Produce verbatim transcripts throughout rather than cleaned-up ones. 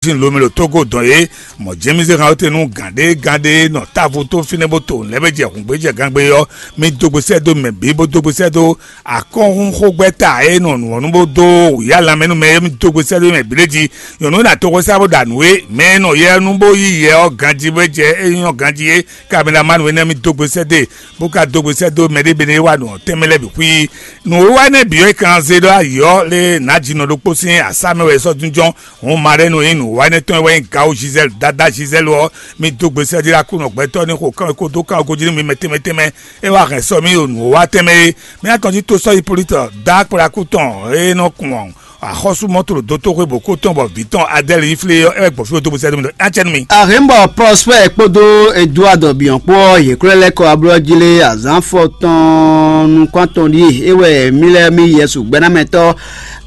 sín lomɛ ɖo Togo dɔn é. Mɔ̌ jɛ́n mì zé han ɔ́ te nú gǎn ɖé gán ɖé nɔ távo tó fínɛ́ bó to nǔ lɛ́ɛ bó jɛ hǔngbéjɛ gangbé ɔ́, mì dó gbe sɛ́ dó mɛ bǐ bó dó gbe sɛ́ dó akɔ́hún xógbɛ́ta e nɔ nǔ ɔ́ nú bó dó wǔyá lanmɛ nú mɛ é, mì dó gbe sɛ́ dó mɛ bǐ lɛ́ɛ jí. Nyɔ̌nu e nɔ toxo sá bó ɖo anǔ é, mɛ e nɔ yɛ nú bó yí yɛ ɔ́ ganjí bó jɛ é nyɔ́ ganjí é, kabǐ ná má nǔ énɛ́ mì dó gbe sɛ́ dó e, bó ka dó gbe sɛ́ dó mɛ ɖé bɛ́ é wa nǔ ɔ́ tɛnmɛ lɛ́ɛ bǐ xwí. Nǔwiwa énɛ́ bǐ ɔ́, è kan zé ɖó ayǐ ɔ́ lé nǎjínɔ ɖokpó sín asá mɛ wɛ è sɔ́ jínjɔ́n. Hǔn Maɖɛ́nu e nyí nǔwiwa énɛ́ tɔn e wɛ nyí Gawu Zizɛ́lu, Dadá Zizɛ́lu ɔ́, mì dó gbe sɛ́ dó Aklúnɔ gbɛtɔ́ ní xo kán kó dó kán gɔ́ jí nú mi mɛ tɛnmɛ tɛnmɛ. É wá hɛn sɔ́ mì ɖo nǔwiwa tɛnmɛ é. Mì atɔn jí tó sɔ́ Hipolitu dó akplákú tɔn e nɔ kún axɔ́sú mɔ̌ tlǒ dó tóxwé bǒ kó tɔn bɔ vǐ tɔn Adɛ́li yi flé ɔ́, é wɛ gbɔn fí ɖo dó gbe sɛ́ dó mì ɖɔ é ná cɛ nú mi. Arǐmbɔ Prɔspɛ́ɛ kpódó Eduado bǐ ɔ́ kpó ɔ́, yě klɔ́ lɛ́ kɔ ablɔ́ jí lé azǎn fɔtɔn nukún atɔn ɖíe é wɛ mì lɛ́ mì Yɛsu gbɛ́námɛtɔ́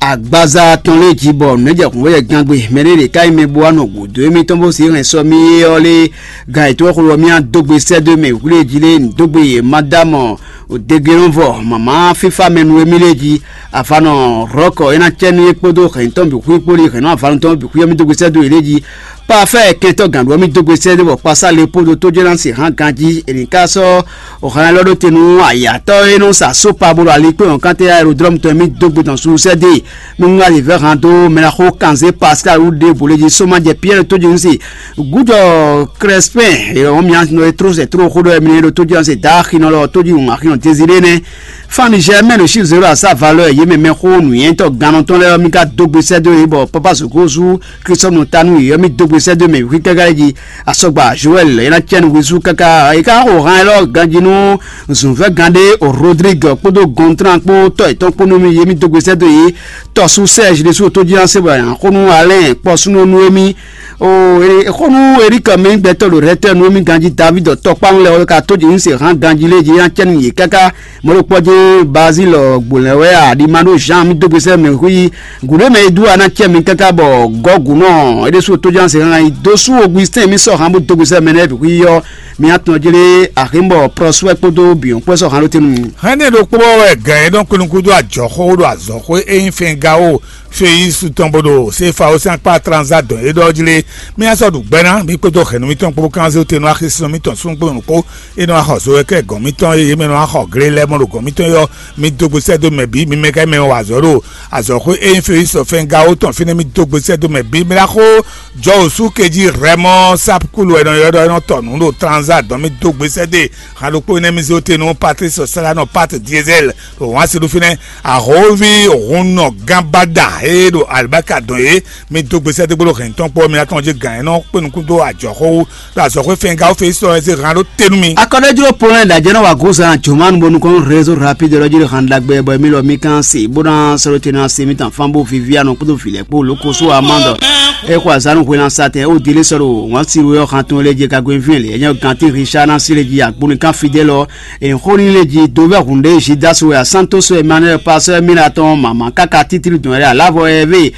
agbaza tɔn lɛ́ɛ jí bɔ nǔ e jɛ hǔn wɛ gangbe. Mɛ ɖé ɖě ká nyí mɛ bó wá nɔ gǔdo émítɔn bó sí hɛn sɔ mì é ɔ́ lé, gan yětɔn xwló ɔ́ mì á dó gbe sɛ́ dó mɛ wǔ lé jí lé, nǔ dó gbe yě ma dó amɔ degelɔ́nvɔ mama fífá mɛ nú émí lé jí. Afanɔ Rɔ́kɔ é ná cɛ nú é kpódó hɛ̌n tɔn bǐ xwí kpódó hɛ̌n nú avanu tɔn bǐ xwí ɔ́ mì dó gbe sɛ́ dó yě lé jí. Pafɛ́ɛ kɛntɔ́ gǎnɖuwɔ́ mì dó gbe sɛ́ dó bɔ kpasá le kpódó tójɛ́násì hán ganjí è nǐ ká sɔ́ hɛn lɔ ɖó te nú ayatɔ́ e nɔ sa sópa bó ɖo alikpé wɔ̌nkántɛ́ aerodrɔ́mu tɔn e mì dó gbe tɔn sulusɛ́ dó e. Nú un wá lǐvɛ́ han dó mɛ ná xó kanzé Pascal wú ɖěbǔ lé jí sómajɛ Piyɛ́ɛ tójínúsi gúdɔ Krɛspɛ́n, è wɔ̌ mì nɔ e tló sɛ tló xó ɖɔ mi ɖo tójínúsi dǎ axinɔ lɔ tójínú axinɔ Deziré nɛ́. Fán Nizɛ́ɛ mɛ ɖo Chiv zéro asá valeur yě mɛ mɛxó nǔnywɛ́tɔ́ gannɔ tɔn lɛ́ɛ ɔ́, mì ka dó gbe sɛ́ dó yě bɔ Papa Sukúsu Klísɔ́nu ta nú yě ɔ́, mì dó gbe sɛ́ dó mɛ wǐ káká jí. Asɔgba Joɛl é ná cɛ nǔ hwesú káká é ká xo han élɔ́ ganjí nú zǔnfɛ́gán ɖé Rodrigue kpódó Gontran kpó tɔ́ yětɔn kpó nú mì yě mì dó gbe sɛ́ dó yě. Tɔ́sú Sɛ́ɛzi ɖésú tó jí ná se bɔ è nǎ xo nú Alɛ́n kpɔ́súnɔ nú émí. O, é xo nú Erika mɛ gbɛtɔ́ ɖo Rɛtɛ́nu émí ganjí Davíd tɔkpánu lɛ́ɛ wɛ ka tó jǐnúse hán ganjí lé jí ná cɛ nú yě káká. Mɔ̌ ɖokpɔ́ jɛ́n Bazílɔ gbo lɛ́ wɛ a ɖi ma ɖó Zan mì dó gbe sɛ́ mɛ xwí gǔɖé mɛ e dú a ná cɛ mi káká bɔ Gɔ́gǔnɔ é ɖésú tó jɛ́n se hán yi dó sú Ogustín mì sɔ́ hán bó dó gbe sɛ́ mɛ nɛ́ bǐ xwí ɔ́. Mi atɔn jlé Axínbɔ Prɔsúwɛ kpódó Bǐɔn kpó sɔ́ hán ɖó tɛ́nú mi. Hɛn ní ɖokpó wɛ gǎn e nɔ kpé nukún dó ajɔ̌xó ɖo azɔ̌xwé e nyí Fɛngao Feyísu tɔn bó ɖo Sefao sín akpá Tranzadɔn é ɖɔ jí lé. Mì asɔ ɖu gbɛ́ ná, mì kpódó hɛ̌nnu mǐtɔn kpó bó kán zé tɛn nú axisínɔ mǐtɔn súnnu kpó nukpó e nɔ wá xɔ zo wɛ kɛ gɔ̌n mǐtɔn e yě mɛ nɔ wá xɔ glé lɛ́ɛ mɔ ɖo gɔ̌n mǐtɔn é ɔ́, mi dó gbe sɛ́ dó mɛ bǐ, mi mɛ ká mɛ wa azɔ̌ ɖo azɔ̌xwé e nyí Feyísu Fɛngao tɔn fínɛ́, mi dó gbe sɛ́ dó mɛ bǐ. Mi ná xó jɔ wǒ sú kejí Rɛmɔ Sapkulu wɛ è nɔ ylɔ́ ɖɔ é nɔ tɔ nǔ ɖo Tranzadɔn, mi dó gbe sɛ́ dó e. Han ɖokpó énɛ́ mi zé te nú Patlísi Salanɔ Pat Diezɛ́l ɖo wǎn si ɖo fínɛ́, ahǒví hunnɔ gán báda e ɖo alibáka dɔn é. Mi dó gbe sɛ́ dó gbolo hɛn tɔn kpó mi ná tɔn jí gǎn e nɔ kpé nukún dó ajɔ̌xó wú ɖo azɔ̌xwé Fɛngao Feyísu ɔ́ zé han ɖó te nú mi. Akɔ́ɖɔ́jló Polɛ́ɛ ɖo ajɛ́ nɔ wa gozán jǒmanu bónú kɔn rézo rapide ɖɔ jí ɖo han ɖagbe bɔ émí lɔ mì kán se bó ná sɔ́ ɖó te ná se mì tɔn fán bó Viviano kpódó vǐ lɛ́ɛ kpó Lókosó Amandɔ. É xɔ azǎn nú hwelán satɛn ó dilé sɔ́ ɖo wǎn si wé ɔ́ han tɔn lé jí kagwé vǐ lě é nyɔ́ gantí Richard ná sí lé jí agbónikán Fidèle ɔ́. È xó ní lé jí dovɛ́ hǔn ɖé Judas wɛ a Santos Emmanuel pasɔ́ Emilatɔn mama káká títí dɔn yɛ alávɔ Ɛvé.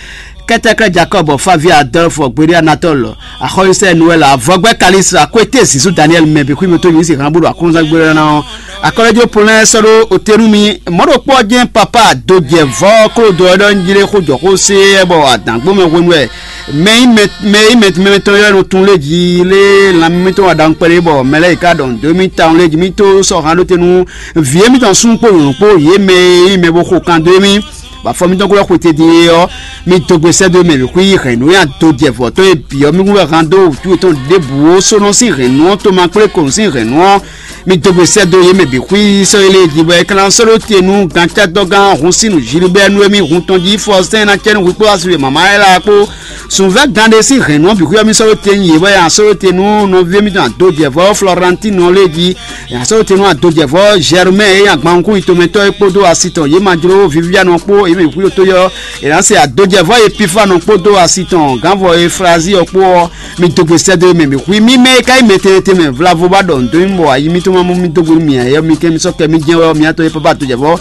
Kɛtɛkrɛ Jacob Favi Adolphe Gbéɖé Anatole Axɔ́yísɛ Noël Avɔgbɛ Kalisi Akwete Zizu Daniel mɛ bǐ xwí mi tó nyǐ si hán bó ɖo akɔ́nzán gbé ná ɔ́. Akɔ́lɛ́jó Polɛ́n sɔ́ ɖó otenu mi mɔ̌ ɖokpó ɔ́ jɛ́n papa dojɛvɔ́ Klódo ɔ́ ɖɔ njí ɖé xó jɔ xó sé bɔ adǎngbó mɛ hwenu wɛ mɛ yi mɛ mɛ yi mɛ mɛ tɔn yɔ nɔ tun lé jí lé lanmɛ mitɔn wa ɖaŋu kpɛɖé bɔ mɛ lɛ́ yi ka ɖɔ nǔ mi tawun lé jí mi tó sɔ́ hán ɖó te nú vǐ émítɔn súnnu kpó nyɔ̌nu kpó yě mɛ e nyí mɛ bó xo kan dó émí. Bɔ afɔ mitɔn kó lɛ́ xwete din é ɔ́, mi dó gbe sɛ́ dó mɛ bǐ xwí yi hɛ̌nnu e ado jɛ vɔ̌ tɔn e bǐ ɔ́, mi kún wɛ han dó wǔtu yětɔn ɖěbǔ ó sónɔ sín hɛ̌nnu ɔ́, tomakplékonu sín hɛ̌nnu ɔ́, mi dó gbe sɛ́ dó yě mɛ bǐ xwí sɔ́ yé lée jí bɔ é ka ná sɔ́ ɖó te nú gantɛ́dɔgán Hunsínu Zilibɛ́ɛ nú émí hun tɔn jí Fɔsɛ́n ná cɛ nú hwi kpó asúle mama Ɛla kpó. Sunvɛ́ gán ɖé sín hɛ̌nnu ɔ́ bǐ xwí ɔ́, mi sɔ́ ɖó te nú yě bɔ é ná sɔ́ ɖó te nú nɔví émítɔn adójɛvɔ́ Flɔrantínu ɔ́ lée jí. È nǎ sɔ́ te nú adojɛvɔ́ Zɛrmɛ́ɛ e nyí agbankún yitomɛtɔ́ é kpódó asi tɔn yě ma jló Vivianɔ kpó yě mɛ xwíxwetó yɔ́. È nǎ se adojɛvɔ́ Epifanɔ kpódó asi tɔn gǎnvɔ Eflazi ɔ́ kpó ɔ́, mi dó gbe sɛ́ dó mɛ bǐ xwí mì mɛ e ka nyí mɛ tɛnmɛ tɛnmɛ vlavo ba ɖɔ nǔ dó mì bɔ ayi mitɔn ma mɔ mì dó gbe nú mì ǎ é ɔ́, mi kɛn mi sɔ́ kɛ mì jɛ́n wɛ ɔ́, mi atɔn e pápá adojɛvɔ́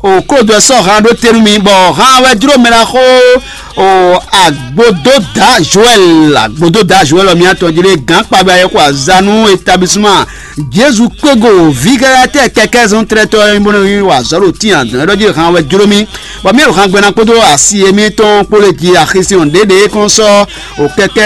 O kódó ɛ sɔ́ han ɖó te nú mi, bɔ han wɛ jló mɛ ná xó. O Agbododa Joel, Agbododa Joel ɔ́, mi atɔn jí lé gǎn kpabɛ ayɔkɔ azanu établissement Jezu kpégo vǐgɛ́yátɛ́ kɛkɛ́ zɔn tlɛtɔ́ ɔ́, bó nɔ wa azɔ̌ ɖo tíin adɔn ɛ́ ɖɔ jí han wɛ jló mi, bɔ mi ɖo han gbɛ́ná kpódó asi émítɔn kpó lé jí axisíɔn ɖěɖě kɔn sɔ́ o kɛkɛ́